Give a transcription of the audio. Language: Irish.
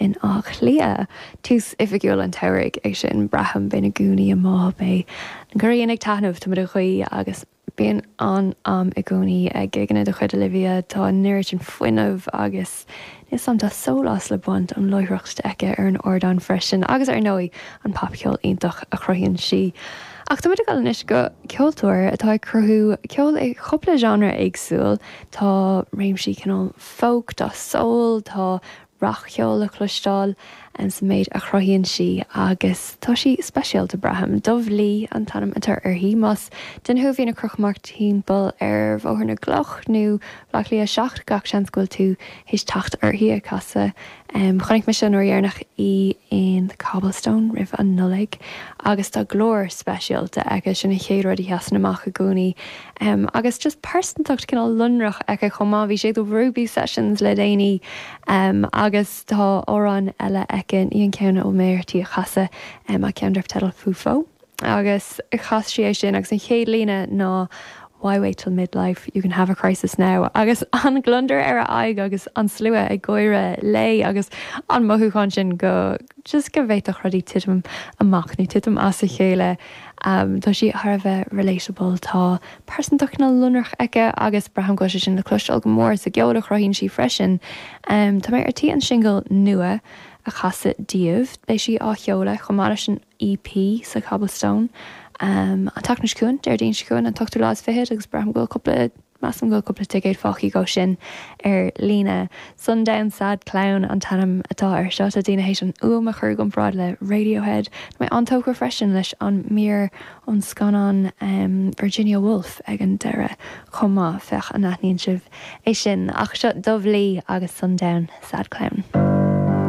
in Áth Cliath. Tús oifigiúil an tsamhraidh é sin, braithim. Beidh na gúnaí amuigh, beidh an ghrian ag taitneamh, tá muid ag guí agus bíonn an-am i gcónaí ag gigeanna de chuid Olivia. Tá an oiread sin fuinnimh agus níl 's a'm, tá sólás le baint ón láithreacht aici ar an ardán freisin agus ar ndóigh an popcheol iontach a chruthaíonn sí. Ach tá muid ag dul anois go ceoltóir atá ag cruthú ceol i chúpla genre éagsúil. Tá réimsí cineál folk, tá soul, tá rac-cheol le cloisteáil sa méid a chruthaíonn sí agus tá sí speisialta, braithim. Dubh Lee an t-ainm atá uirthi. Más duine thú a bhíonn ag crochadh amach timpeall ar Bhóthar na gCloch nó Baile Átha Cliath 7, gach seans go bhfuil tú théis teacht uirthi ag casadh. Chonaic mise an uair dheireanach í in The Cobblestone roimh an Nollaig agus tá glór speisialta aici, sin an chéad rud a sheasann amach i gcónaí. Agus just pearsantacht cineál lonrach aici chomh maith. Bhí sí ag The Ruby Sessions le déanaí agus tá amhrán eile aici, ní an ceann a bhfuil mé ar tí a chasadh ach ceann darb teideal Fufo. Agus chas sí é sin agus an chéad líne ná Why wait till midlife, you can have a crisis now. Agus an gliondar ar a aghaidh agus an slua ag gáire léi agus an mothúchán sin go just go bhféadfadh rudaí titim amach nó titim as a chéile. Tá sí thar a bheith relatable, tá pearsantacht cineál lonrach aici agus braithim go bhfuil sé sin le cloisteáil go mór sa gceol a chruthaíonn sí freisin. Tá mé ar tí an singil nua a chasadh daoibh, beidh sí á sheoladh chomh maith leis an EP sa Cobblestone an tseachtain seo chugainn, Déardaoin seo chugainn, an t-ochtú lá is fichead agus braithim go bhfuil cúpla, measaim go bhfuil cúpla ticéad fágtha dhó sin ar líne. Sundown Sad Clown an t-ainm atá air seo. Tá daoine théis an fhuaim a chur i gcomparáid le Radiohead. Tá mé an-tógtha freisin leis an mír ón scannán Virginia Woolf ag an deireadh chomh maith. Féach an aithníonn sibh é sin. Ach seo Dubh Lee agus Sundown Sad Clown.